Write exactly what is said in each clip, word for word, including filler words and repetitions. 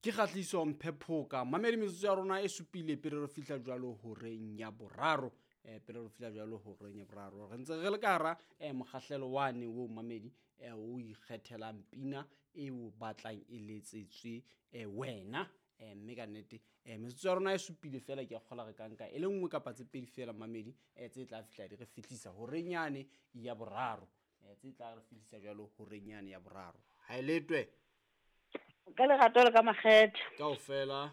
Ke Kgahliso Mphephoka. Mamedi, metsotso ya rona e supile pele re fihla jwalo horeng ya boraro. Eh, pele re fihla jwalo horeng ya boraro. Re ntse re le ka hara eh, mokgahlelo wane o mamedi eh, o ikgethelang pina e o batlang e letsetswe eh, wena. Eh, mme ka nnete eh, metsotso ya rona e supile fela, ke a kgola re ka nka e le nngwe kapa tse pedi fela mamedi eh, tse tla fihla di re fihlisa horeng yane ya boraro. Eh, tse tla re fihlisa jwalo horeng yane ya boraro. Ha e letwe. Ka lerato le ka makgethe. Kaofela.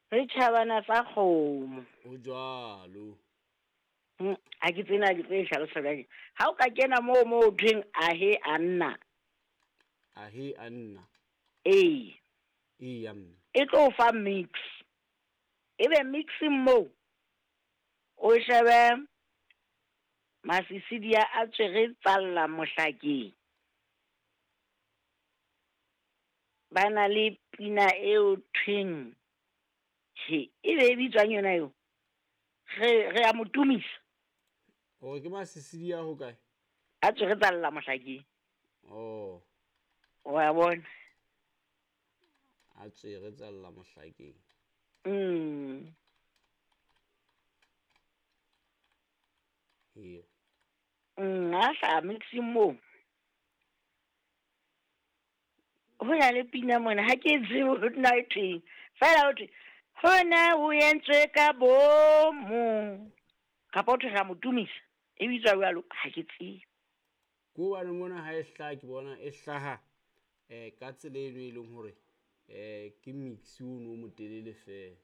Re tjhabana tsa kgomo. O jwalo. Hmm, ha ke tsena ke tlo e hlalosa jwang. Ha o ka kena moo moo thweng ahe a nna. Ahe a nna. Ee. Eya mme. E tlo fa mix. Ebe mixing moo o shebe Masisidia a tswere tsalla mohlakeng. Ba na le pina eo thweng he e be e bitswang yona eo. Re re a mo tumisa. O ke Masisidia ho kae? A tswere tsalla mohlakeng. Oh. Wa bona. A tswere tsalla mohlakeng. Mm. Here. Mm, a sa mixing mo. Ho na le pina mona ha ke tsebe ho na e thweng. Fela ho thwe hona o entswe ka bomo. Kapa ho thwe ra mo tumisa. E bitswa jwalo, ha ke tsebe. Ke hobane mona ha e hlaha, ke bona e hlaha eh ka tsela eno e leng hore eh ke mix ono o motelele fela.